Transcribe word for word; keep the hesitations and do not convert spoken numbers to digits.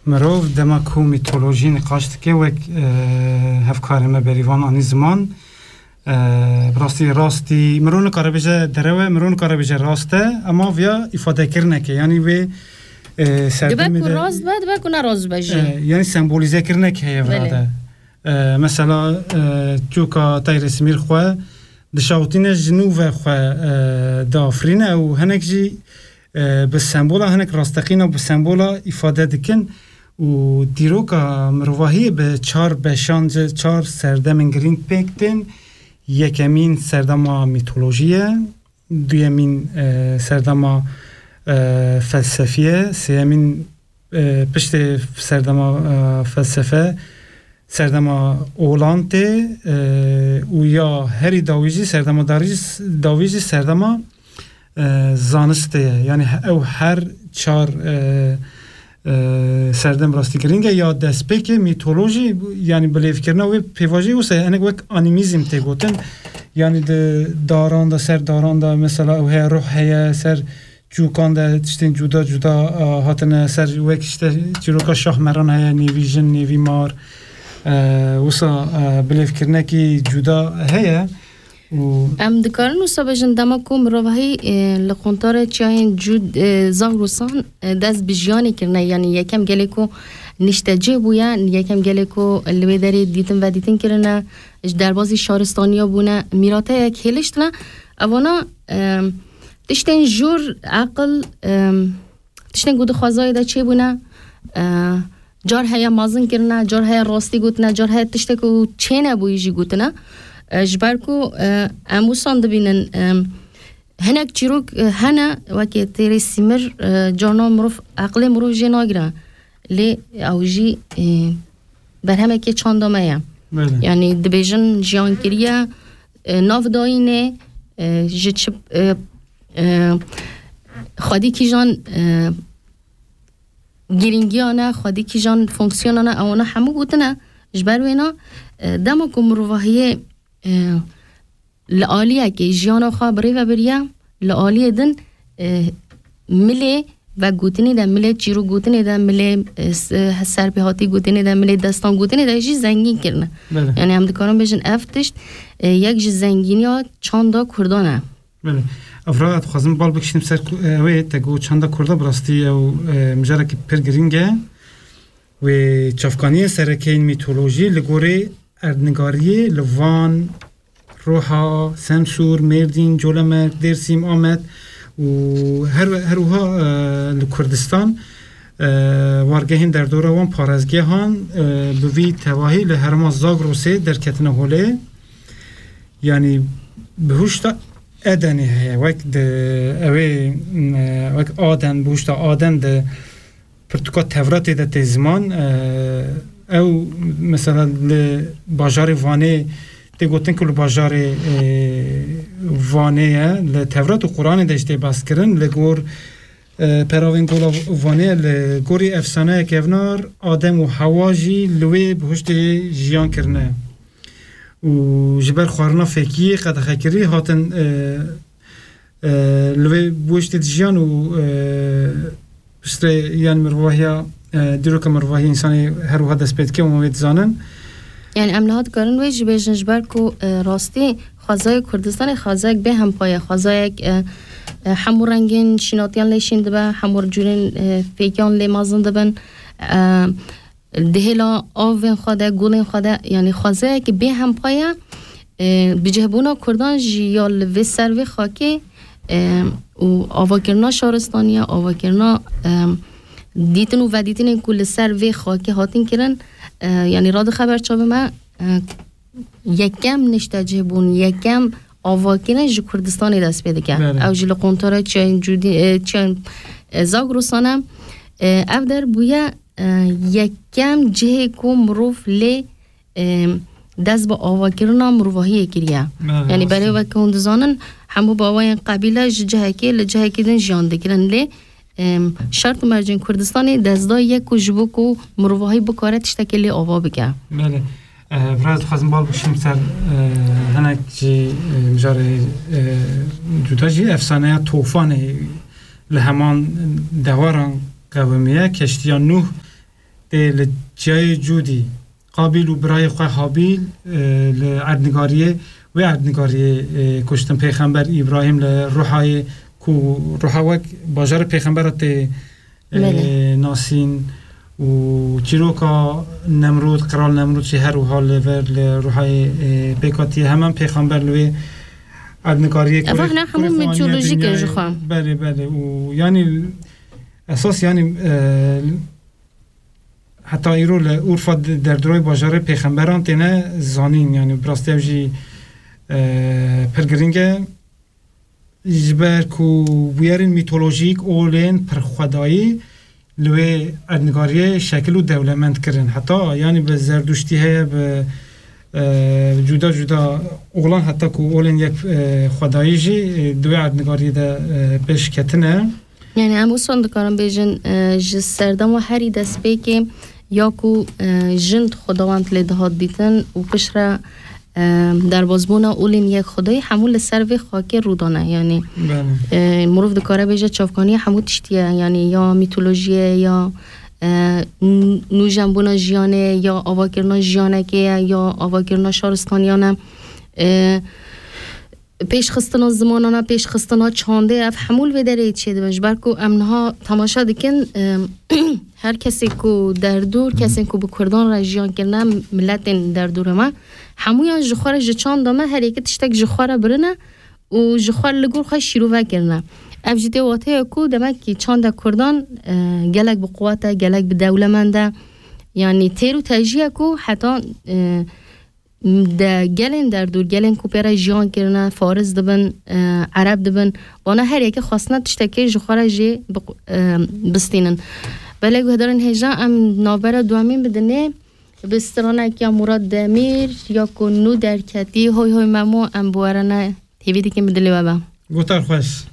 Mirov dema ku mîtolojî niqaş dike, wek, e, hevkarê me Berîvan anî ziman, e, bi rastî, rastî mirov nikare bêje derew e, mirov nikare bêje rast e, ema viya îfadekirinek e. Yanî wê, e, Dibe serdemê ku de, rast be, dibe ku ne rast be jî. E, yanî sembolîzekirinek heye vira Belê. de. E, mesela, e, coka Tayrê Simîr xwe dişawitîne, ji nû ve xwe, e, diafirîne û hinek jî, e, bi sembola, hinek rasteqîna bi sembola îfade dikin û dîroka mirovahiyê bi çar beşan, çar serdemên girîng pêk tên. Yekemîn serdema mîtolojî ye, duyemîn, e, serdema, e, felsefî ye, sêyemîn, e, piştê serdema, e, felsefe, serdema olan tê, e, û ya herî dawî jî, serdema darî jî, dawî jî serdema, e, zanistê ye. Yanî he-, ew her çar, e, e, serdem rastî girîng e. Ya destpêkê mîtolojî, yanî bilêvkirina wê pêvajoyê wisa ye, hinek wek animîzm tê gotin. Yanî di daran de, ser daran de mesela ew heye, ruh heye, ser çûkan de tiştên cuda cuda, e, hatine ser, wek işte çîroka Şahmeran heye, nêvî jin, nêvî mar. E, wisa, e, bilêvkirinekî cuda heye. Û Em dikarin wisa bêjin, dema ku mirovahî, e, li quntarê çiyayên cûd, e, Zagrosan, e, dest bi jiyanê kirine, yanî yekem gelê ku niştecih bûye, yekem gelê ku li wê derê dîtin vedîtin kirine, ji derbazî şaristaniya bûne, mîrateyek hêliştine, evana, e, tiştên jûr, eqil, e, tiştên ku di xwezayê de çêbûne, e, car heye mezin kirine, car heye rastî gotine, car heye tiştek ku çênebûyî jî gotine. E, ji ber ku, e, em wisan dibînin, e, hinek çîrok, e, hene, wekî Têrê Sîmir, e, carna mirov, eqlê mirov jê nagire. Lê ew jî, e, berhemekê çanda me ye. Belê. Yanî dibêjin jiyan kiriye, e, nav dayînê, e, ji çi, e, e, xwedî kîjan, e, girîngiya ne, xwedî kîjan fonksiyona ne, ewana hemû gotine. Ji ber wêna, e, dema ku mirovahiyê, e, li aliyekê jiyana xwe bi rê ve biriye, li aliyê din, e, milê vegotinê de, milê çîrokgotinê de, milê, e, s-, e, serpêhatî gotinê de, milê destan gotinê de jî zengîn kirine. Belê. Yanî em dikarin bêjin ev tişt, e, yek ji zengîniya çanda Kurdan e. Belê. Evra, dixwazim bal bikişînim ser ku, e, ew ê te got çanda Kurda, bi rastî ew, e, mijarekî pir girîng e. Wê çavkaniyên sereke yên mîtolojî li gorî erdnigariyê li Van, Roha, Semsûr, Mêrdîn, Colemêrg, Dêrsim, Amed û her, her wiha, e, li Kurdistan, e, wargehên derdora wan parêzgehan, e, bi vî tevahî li herêma Zagrosê derketine holê. Yanî bihuşta Edenê heye, wek di, ew ê, e, wek Aden, bihuşta Aden di pirtûka Tevratê de tê ziman, e, ew mesela li bajarê Vanê tê gotin ku li bajarê, e, Vanê ye, li Tevrat û Quranê de jî tê behs kirin, li gor, e, peravên gola Vanê ye, li gorî efsaneya kevnar Adem û Hewa jî li wê bihuştê jiyan kirine. Û ji ber xwarina fêkiyê qedexekirî hatin, e, e, li wê bihuştê dijiyan û, e, pistrê, yanî mirovahiya, e, dîroka mirovahiyê însanê her wiha dest pê dike û em wê dizanin. Yanî em niha dikarin wê jî bêjin, ji ber ku, e, rastî xwezayê Kurdistanê xwezayek bêhempa ye, xwezayek, e, e, hemû rengên şînatiyan lê şîn dibe, hemû cûrên, e, fêkiyan lê mezin dibin. E, di hêla avên xwe de, gulên xwe de, yanî xwezayekî bêhempa ye, e, bicihbûna Kurdan jî ya li vê ser vê xakê, e, û avakirina şaristaniya, avakirina, e, dîtin û vedîtinên ku li ser vê xakê hatin kirin, e, yanî radixe ber çavê me, e, yekem niştecihbûn, yekem avakirin ji Kurdistanê dest pê dike. Belê. Ew jî li quntara çiyayên Cûdî, e, çiyayên, e, Zagrosan e. E, ev der bûye, e, yekem cihê ku mirov lê, e, dest bi avakirina mirovahiyê kiriye. Belê, Yanî rast e. Berê weke hûn dizanin, hemû bawayên qebîle ji cihekê li cihekî din jiyan dikirin. Lê, e, şert û mercên Kurdistanê dest da yek ku ji bo ku mirovahî bikare tiştekê lê ava bike. Belê. E, biraz dixwazim bal bikişim ser, e, hinek jî, e, mijarê, e, cuda jî efsaneya Tofanê li heman dewaran qewimiye. Keştiya Nuh Tê li çiyayê Cûdî, Qabîl û birayê xwe Habîl, e, li erdnigariyê, wê erdnigariyê, e, kuştin. Pêxember Îbrahîm li Ruhayê ku Ruha wek bajarê pêxembera tê, e, Belê. nasîn û çîroka Nemrûd, Qral Nemrûd jî her wiha li vir li Ruhayê, e, pêk hatiye. Hemen pêxember li wê erdnigariyê Ev kurê, hene hemû kurê xwe aniye mitolojîk e dinyayê. ji xwe. Belê, belê. Û yanî esas yanî, e, heta îro li Urfa de-, derdorê bajarê pêxemberan têne zanîn, yanî bi rastî ev jî, e, pir girîng e. Ji ber ku bûyerên mîtolojîk, olên pirxwedayî li wê erdnigariyê şekil û dewlemend kirin. Heta yanî bi Zerduştî heye, bi, e, cuda cuda olan, heta ku olên yek, e, xwedayî jî, e, di wê erdnigariyê de, e, pêş ketine. Yani em wisa dikarin bêjin, e, ji serdema herî destpêkê ya ku, e, jin xwedawend lê dihat dîtin û piştre, e, derbazbûna olên yek xwedayî hemû li ser vê xakê rû dane. Yani, Belê. e, mirov dikare bêje çavkaniyê hemû tiştî ye. Yani ya mîtolojiyê ye, ya, e, n-, nûjenbûna jiyanê ye, ya avakirina jiyanekê ye, ya avakirina şaristaniyan e. E, pêşxistina zimanana, pêşxistina çandê, ev hemû li vê derê çêdibin. Ji ber ku em niha temaşe dikin, e, her kesê ku derdor, kesên ku bi Kurdan re jiyan kirine, miletên derdorê me, hemûyan ji xwe re, ji çanda me, her yekê tiştek ji xwe re birine û ji xwe re li gor xwe şîrove kirine. Ev jî tê wateya ku demek ki çanda Kurdan, e, gelek bi quwet e, gelek bi dewlemend e. Yanî têr û tejî ye ku heta, e, de gelên derdor, gelên ku pê re jiyan kirine, faris dibin, e, ereb dibin, wana her yekê xwestine tiştekê ji xwe re jê bi-, e, bistînin. Belê guhdarên hêja, em navbera duemîn bidinê bi stranek ya Murat Demîr ya ku nû derketî, Hoy Hoy Memo, em bi we re ne hêvî dikin bi dilê we be. Guhtar xweş.